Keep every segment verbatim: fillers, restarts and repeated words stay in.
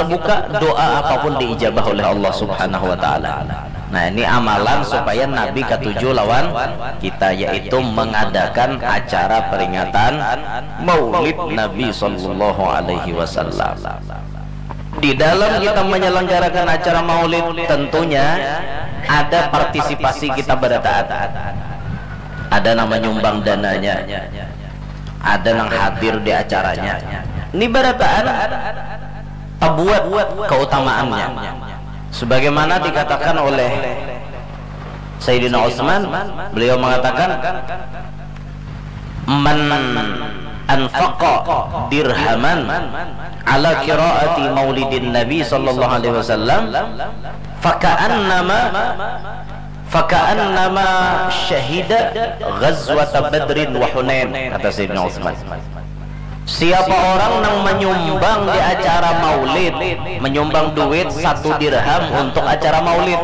buka, doa apapun diijabah oleh Allah Subhanahu wa Ta'ala. Nah, ini amalan supaya Nabi katuju lawan kita, yaitu mengadakan acara peringatan Maulid Nabi Sallallahu Alaihi Wasallam. Di dalam kita menyelenggarakan acara Maulid, tentunya ada partisipasi kita barataan. Ada nang menyumbang dananya, ada nang hadir di acaranya. Ini barataan tabuat keutamaannya. Sebagaimana dikatakan oleh Sayyidina Utsman, beliau mengatakan, "Man anfaqa dirhaman ala qiraati maulidin Nabi sallallahu alaihi wasallam, faka'annama faka'annama syahida ghazwata Badrin wa Hunain," kata Sayyidina Utsman. Siapa orang nang menyumbang di acara Maulid, menyumbang duit satu dirham untuk acara Maulid,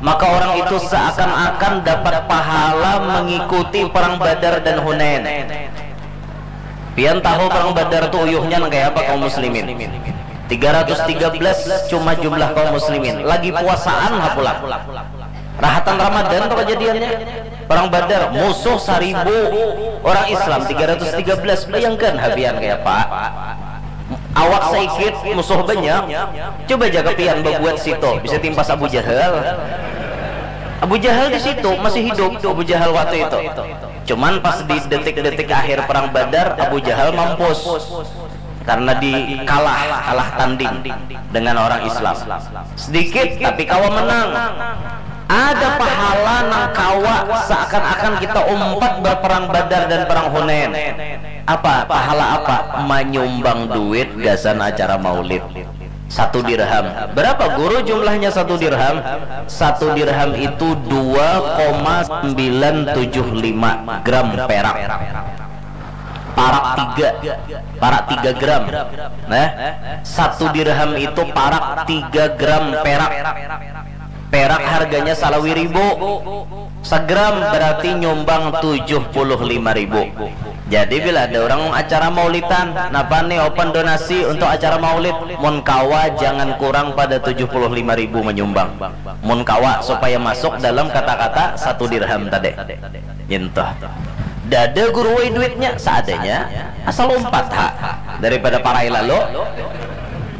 maka orang itu seakan-akan dapat pahala mengikuti perang Badar dan Hunain. Pian tahu perang Badar tu uyuhnya nang kaya apa, kaum muslimin? Tiga ratus tiga belas cuma jumlah kaum muslimin, lagi puasaan ha pulang. Rahatan Ramadan tu kejadiannya. Perang Badar, musuh saribu, orang Islam tiga ratus tiga belas. Bayangkan ha pian kaya apa. Awak saikit, musuh banyak. Coba jaga pian babuat situ, bisa timpas Abu Jahal. Abu Jahal di situ masih hidup, Abu Jahal waktu itu. Cuman pas di detik-detik akhir perang Badar, Abu Jahal mampus karena dikalah, kalah tanding dengan orang Islam. Sedikit tapi kawa menang. Ada pahala nang kawa seakan-akan kita umpat berperang Badar dan perang Hunain. Apa? Pahala apa? Menyumbang duit gasan acara maulid. Satu dirham. Berapa, Guru, jumlahnya satu dirham? Satu dirham itu dua koma sembilan tujuh lima gram perak. Parak tiga, parak tiga gram. Nah, satu dirham itu parak tiga gram perak. Perak harganya salawi ribu. Sagram berarti nyumbang tujuh puluh lima ribu. Jadi bila ada orang acara maulitan, napa nih, open donasi untuk acara maulid, mun kawa jangan kurang pada tujuh puluh lima ribu menyumbang. Mun kawa supaya masuk dalam kata-kata satu dirham tadi. Nyentuh. Dada guru wai duitnya, seadanya, asal umpat ha, daripada parai lalu.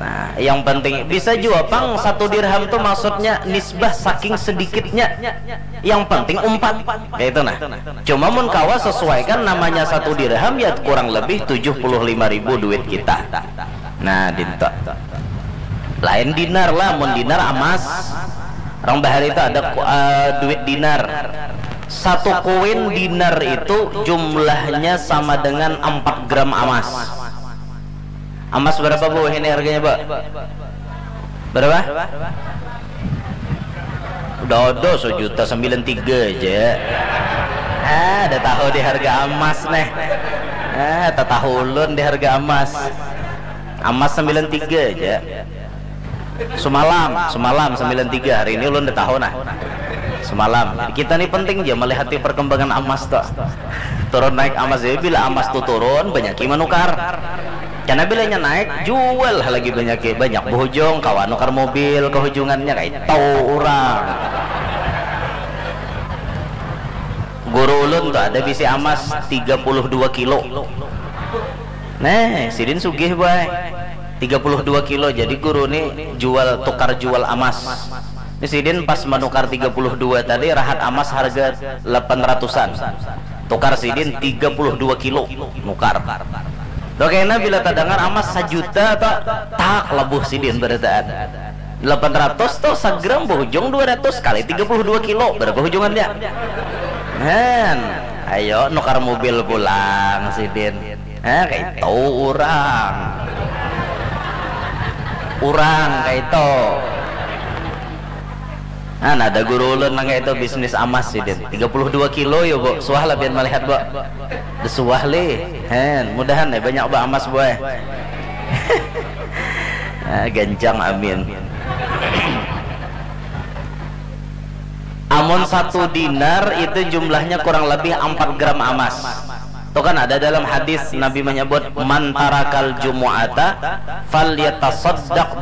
Nah, yang penting bisa jua pang satu dirham tu maksudnya nisbah saking sedikitnya. Yang penting umpat. Kayak itu nah. Cuma mun kawa sesuaikan namanya satu dirham ya kurang lebih tujuh puluh lima ribu duit kita. Nah, dinto. Lain dinar lah, mun dinar amas. Orang bahari itu ada ku- eh, duit dinar. Satu koin dinar itu jumlahnya sama dengan empat gram amas. Amas berapa, Bu, ini harganya, Bu? Berapa? Udah ada sejuta sembilan tiga aja. Ah, ada tahu di harga amas nih. Ah, tak tahu ulun di harga amas. Amas sembilan tiga aja. Semalam, semalam sembilan tiga, hari ini ulun udah tahu nah. Semalam. Kita nih penting aja melihat perkembangan amas tuh. Turun naik amas, jadi bila amas tuh turun, banyak yang menukar. Karena bilanya naik, jual lagi banyak, banyak. Bohujung, kawan nukar mobil, kehujungannya kayak tahu orang. Guru ulun tuh ada bisi amas tiga puluh dua kilo. Nah, sidin sugih, boy. Tiga puluh dua kilo. Jadi guru nih jual, tukar jual amas. Ini sidin pas menukar tiga puluh dua tadi, rahat amas harga delapan ratusan. Tukar sidin tiga puluh dua kilo nukar. Tuh kena bila terdengar amas sajuta tuh, tak lebuh sidin berataan. Delapan ratus tuh sagram, bohujung dua ratus kali tiga puluh dua kilo, berapa hujungannya? Han, ayo nukar mobil pulang sidin. Nah, kayak itu orang. Orang kayak itu. Nah, ada guru ulun nang kayak itu bisnis amas sidin. Tiga puluh dua kilo ya, Bu. Suah lah pian melihat, Bu. Suah lih. Han, mudahan ya banyak ba amas, boy. Ah, gancang, amin. Amun satu dinar itu jumlahnya kurang lebih empat gram amas. Itu kan ada dalam hadis Nabi menyebut, "Man tarakal jumu'ata falyatasaddaq